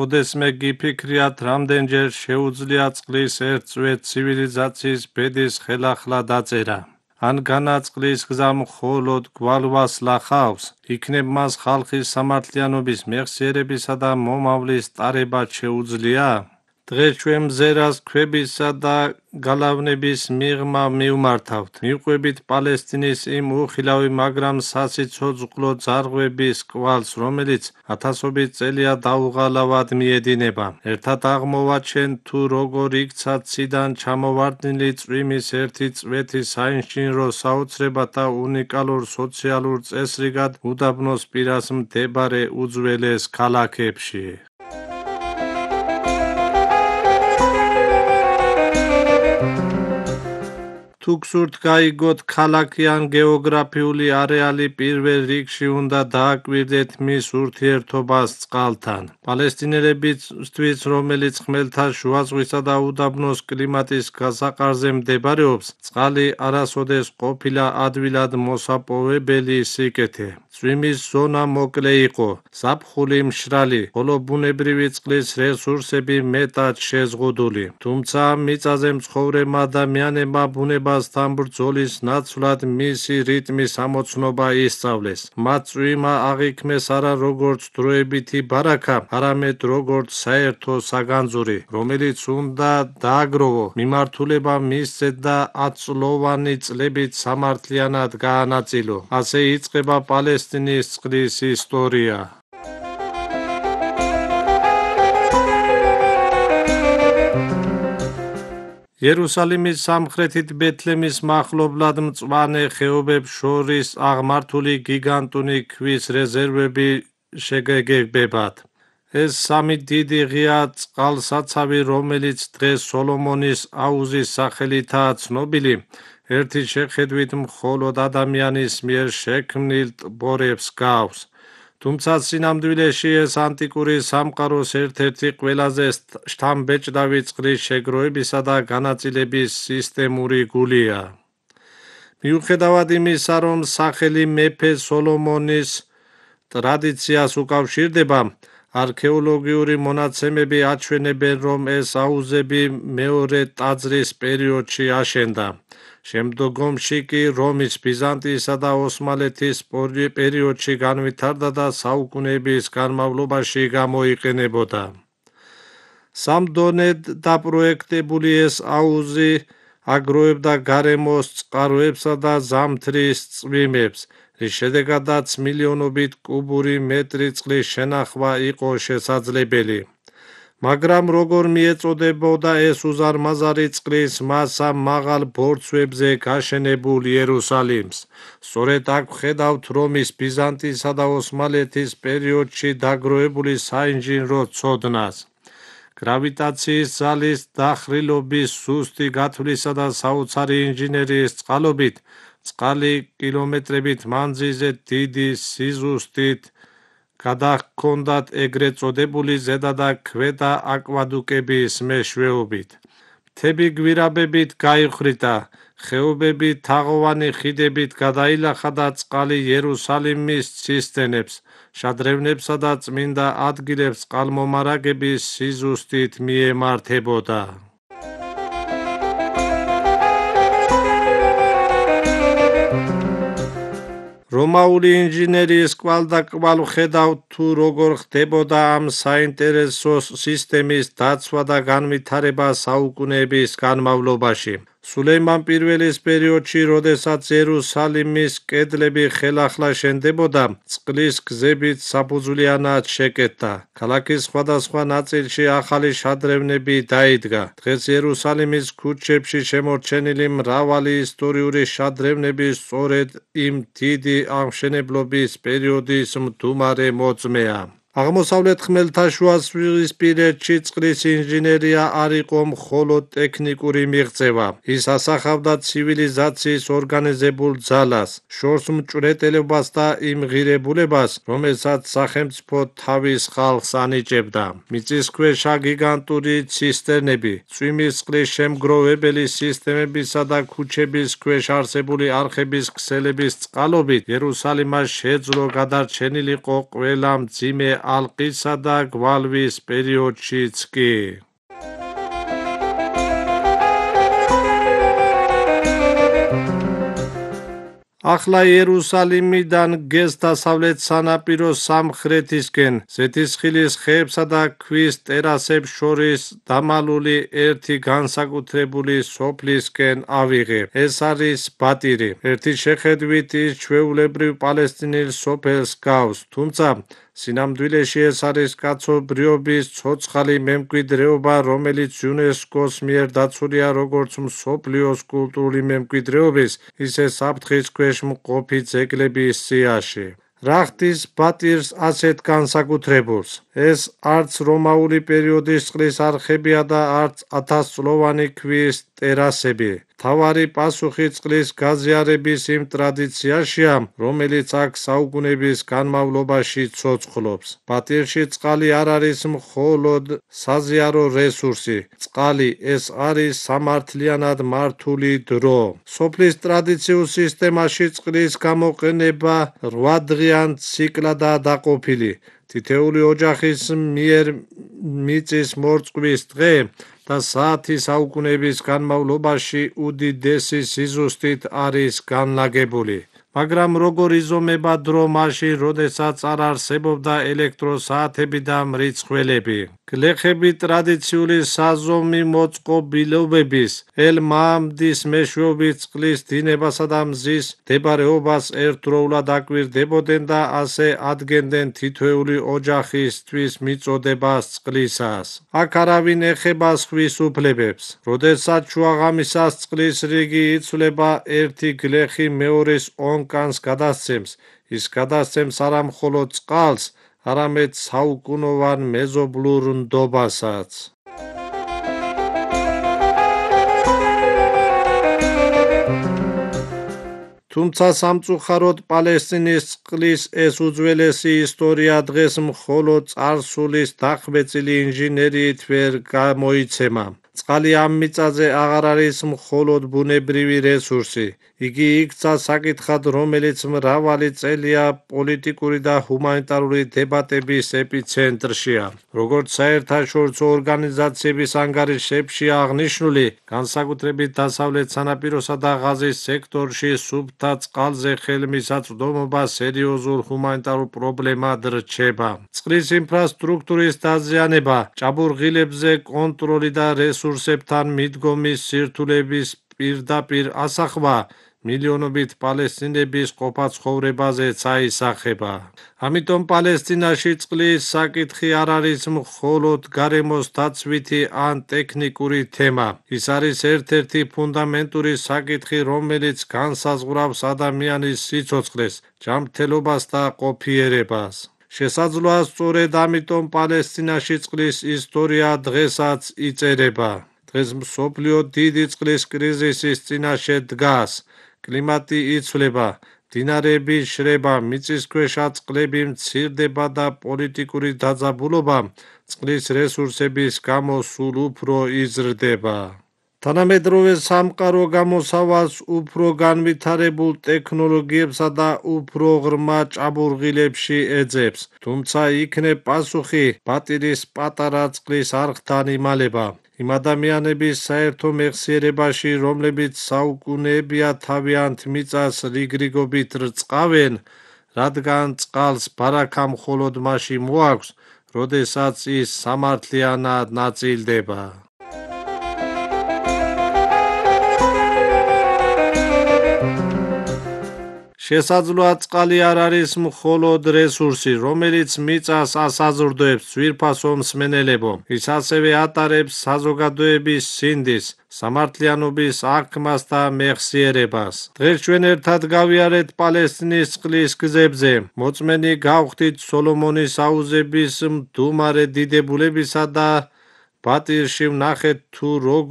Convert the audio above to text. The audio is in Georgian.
ოდესმე გიფიქრიათ, რამდენჯერ შეუძლია წყლის ერთ წვეთ ცივილიზაციის ბედის ხელახლა დაწერა. ან განაწყლის გზა მხოლოდ გვალვას ლახავს, იქნებ მას ხალხის სამართლიანობის მეხსიერებისა და მომავლის ტარება შეუძლია? დღეს ჩვენ მზერას ქვებისა და გალავნების მიღმა მივმართავთ. მივყვებით პალესტინის იმ უხილავი, მაგრამ სასიცოცხლო ძარღვების კვალს, რომელიც ათასობით წელია დაუღალავად მიედინება. ერთად აღმოვაჩენ თუ როგორ იქცა ციდან ჩამოვარდნილი წვიმის ერთი წვეთი საინჟინრო საოცრებად და უნიკალურ სოციალურ წესრიგად უდაბნოს პირას მდებარე უძველეს ქალაქებში. თუ გსურთ გაიგოთ ქალაქი ან გეოგრაფიული არეალი, პირველ რიგში უნდა დააკვირდეთ მის ურთიერთობას წყალთან. პალესტინელებისთვის, რომელიც ხმელთაშუა ზღვისა და უდაბნოს კლიმატის გასაყარზე მდებარეობს, წყალი არასოდეს ყოფილა ადვილად მოსაპოვებელი სიკეთე. წვიმის ზონა მოკლე იყო, ზაფხული მშრალი, ხოლო ბუნებრივი წყლის რესურსები მეტად შეზღუდული. თუმცა მიწაზე მცხოვრებმა ადამიანებმა ბუნებასთან ბრძოლის ნაცვლად მისი რიტმის ამოცნობა ისწავლეს. მათ წვიმა აღიქმეს არა როგორც დროებითი ბარაქა, არამედ როგორც საერთო საგანძური, რომელიც უნდა დააგროვო, მიმართულება მისცეთ და 10 წლოვანი წლებით სამართლიანად გაანაწილო. ასე იწყება პალესტინის წყლის ისტორია. იერუსალიმის სამხრეთით ბეთლემის მახლობლად მწვანე ხეობებს შორის აღმართული გიგანტური ქვის რეზერვები შეგეგებათ. ეს სამი დიდი ღია წყალსაცავი, რომელიც დღეს სოლომონის აუზის სახელითაა ცნობილი, ერთი შეხედვით მხოლოდ ადამიანის მიერ შექმნილ ტბორებს გავს. თუმცა სინამდვილეში ეს ანტიკური სამყაროს ერთ-ერთი ყველაზე შთამბეჭდავი წყლის შეგროვებისა და განაწილების სისტემური გულია. მიუხედავად იმისა, რომ სახელი მეფე სოლომონის ტრადიციას უკავშირდება, არქეოლოგიური მონაცემები აჩვენებენ, რომ ეს აუზები მეორე ტაძრის პერიოდში აშენდა. შემდგომში კი რომის, ბიზანტიისა და ოსმალეთის პერიოდში განვითარდა და საუკუნეების განმავლობაში გამოიყენებოდა. სამ დონედ დაპროექტებული ეს აუზი აგროვებდა გარემოს წყაროებსა და ზამთრის წვიმებს, რის შედეგადაც მილიონობით კუბური მეტრი წყლის შენახვა იყო შესაძლებელი. მაგრამ როგორ მიეწოდებოდა ეს უზარმაზარი წყლის მასა მაღალ ბორცვებზე გაშენებულ იერუსალიმს? სწორედ აქ ვხედავთ რომის, ბიზანტიისა და ოსმალეთის პერიოდში დაგროვებული საინჟინრო ცოდნას. გრავიტაციის ძალის დახრილობის ზუსტი გათვლისა და საოცარი ინჟინერიის წყალობით, წყალი კილომეტრებით მანძილზე დიდი სიზუსტით გადაჰქონდათ ეგრეთ წოდებული ზედა და ქვედა აკვადუკების მეშვეობით. მთები გვირაბებით გაიხრიტა, ხეობები თაღოვანი ხიდებით გადაილახა და წყალი იერუსალიმის ცისტერნებს, შადრევნებსა და წმინდა ადგილებს წყალმომარაგების სიზუსტით მიემართებოდა. რომაული ინჟინერიის კვალდაკვალ ვხედავთ თუ როგორ ხდებოდა ამ საინტერესო სისტემის დაცვა და განვითარება საუკუნეების განმავლობაში. სულეიმან პირველის პერიოდში, როდესაც იერუსალიმის კედლები ხელახლა შენდებოდა, წყლის გზებით საფუძვლიანად შეკეთდა. ქალაქის სხვადასხვა ნაწილში ახალი შადრევნები დაიდგა. დღეს იერუსალიმის ქუჩებში შემორჩენილი მრავალი ისტორიული შადრევნები სწორედ იმ დიდი აღმშენებლობის პერიოდის მდუმარე მოწმეა. აღმოსავლეთ ხმელთაშუაზღვისპირეთში წყლის ინჟინერია არ იყო მხოლოდ ტექნიკური მიღწევა. ის ასახავდა ცივილიზაციის ორგანიზებულ ძალას, შორს მჭვრეტელობას და იმ ღირებულებას, რომელსაც სახელმწიფო თავის ხალხს ანიჭებდა. მიწისქვეშა გიგანტური ცისტერნები, წვიმის წყლის შემგროვებელი სისტემებისა და ქუჩების ქვეშ არსებული არხების ქსელების წყალობით იერუსალიმას შეძლო გადარჩენილიყო ყველა მძიმე ალყისა და გვალვის პერიოდშიც კი. ახლა იერუსალიმიდან გეს დასავლეთ სანაპიროს სამხრეთისკენ, ზეთისხილის ხეებსა და ქვის ტერასებს შორის დამალული ერთი განსაკუთრებული სოფლისკენ ავიღე. ეს არის ბატირი. ერთი შეხედვით ის ჩვეულებრივ პალესტინელ სოფელს გავს, თუმცა სინამდვილეში ეს არის კაცობრიობის ცოცხალი მემკვიდრეობა, რომელიც იუნესკოს მიერ დაცულია როგორც მსოფლიოს კულტურული მემკვიდრეობის, ისე საფრთხის ქვეშ მყოფი ძეგლების სიაში. რა ხდის ბატირს ასეთ განსაკუთრებულს? ეს არც რომაული პერიოდის წყლის არხებია და არც 1000-წლოვანი ქვის ტერასები. მთავარი პასუხი წყლის გაზიარების იმ ტრადიციაშია, რომელიც აქ საუკუნეების განმავლობაში ცოცხლობს. ბატირში წყალი არ არის მხოლოდ საზიარო რესურსი. წყალი ეს არის სამართლიანად მართული დრო. სოფლის ტრადიციულ სისტემაში წყლის გამოყენება 8 დღიან ციკლადაა დაყოფილი. თითეული ოჯახის მიერ მიწის მორწყვის დღე და საათი საუკუნეების განმავლობაში უდიდესი სიზუსტით არის განლაგებული. მაგრამ როგორ იზომება დრო მაშინ, როდესაც არ არსებობდა ელექტროსაათები და მრიცხველები? გლეხები ტრადიციული საზომი მოწყობილობების, ელ-მაამდის მეშვეობით წყლის დინებასა და მზის მდებარეობას ერთდროულად აკვირდებოდნენ და ასე ადგენდნენ თითოეული ოჯახისთვის მიწოდებას წყლისას. აქ არავინ ეხება სხვის უფლებებს. როდესაც შუაღამისას წყლის რიგი იცვლება, ერთი გლეხი მეორის ონკანს გადასცემს. ის გადასცემს არა მხოლოდ წყალს, არამედ საუკუნოვან მეზობლურ ნდობასაც. თუმცა სამწუხაროდ პალესტინის წყლის ეს უძველესი ისტორია დღეს მხოლოდ წარსულის დახვეწილი ინჟინერიით ვერ გამოიცემა. წყალი ამ მიწაზე აღარ არის მხოლოდ ბუნებრივი რესურსი. იგი იქცა საკითხად, რომელიც მრავალი წელია პოლიტიკური და ჰუმანიტარული დებატების ეპიცენტრშია. როგორც საერთაშორისო ორგანიზაციების ანგარიშებშია აღნიშნული, განსაკუთრებით დასავლეთ სანაპიროსა და ღაზის სექტორში სუფთა წყალზე ხელმისაწვდომობა სერიოზულ ჰუმანიტარულ პრობლემად რჩება. წყლის ინფრასტრუქტურის დაზიანება, ჭაბურღილებზე კონტროლი და რესურსებთან მიდგომის სირთულების პირდაპირ ასახვა მილიონობით პალესტინების ყოფაცხოვრებაზეც აისახება. ამიტომ პალესტინაში წყლის საკითხი არ არის მხოლოდ გარემოს დაცვითი ან ტექნიკური თემა. ის არის ერთ-ერთი ფუნდამენტური საკითხი, რომელიც განსაზღვრავს ადამიანის სიცოცხლეს, ჯანმრთელობას და ყოფიერებას. შესაძლოა სწორედ ამიტომ პალესტინაში წყლის ისტორია დღესაც იწერება. დღეს მსოფლიო დიდი წყლის კრიზისის წინაშე დგას. კლიმატი იცვლება, მდინარეები შრება, მიწისქვეშა წყლები მცირდება და პოლიტიკური დაძაბულობა წყლის რესურსების გამო სულ უფრო იზრდება. თანამედროვე სამყარო გამოსავალს უფრო განვითარებულ ტექნოლოგიებსა და უფრო ღრმა ჭაბურღილებში ეძებს, თუმცა იქნებ პასუხი ბატირის პატარა წყლის არხთან იმალება. იმ ადამიანების საერთო მეხსიერებაში, რომლებიც საუკუნეებია თავიანთ მიწას რიგრიგობით რწყავენ, რადგან წყალს ბარაქა მხოლოდ მაშინ მოაქვს, როდესაც ის სამართლიანად ნაწილდება. შესაძლოა წყალი არ არის მხოლოდ რესურსი, რომელიც მიწას ასაზრდოებს, ძვირფასო მსმენელებო. ის ასევე ატარებს საზოგადოების სინდის, სამართლიანობის აღქმას და მეხსიერებას. დღეს ჩვენ ერთად გავიარეთ პალესტინის წყლის გზებზე. მოწმენი გავხდით სოლომონის აუზების მდუმარე დიდებულებისა და ბატირში ვნახეთ თუ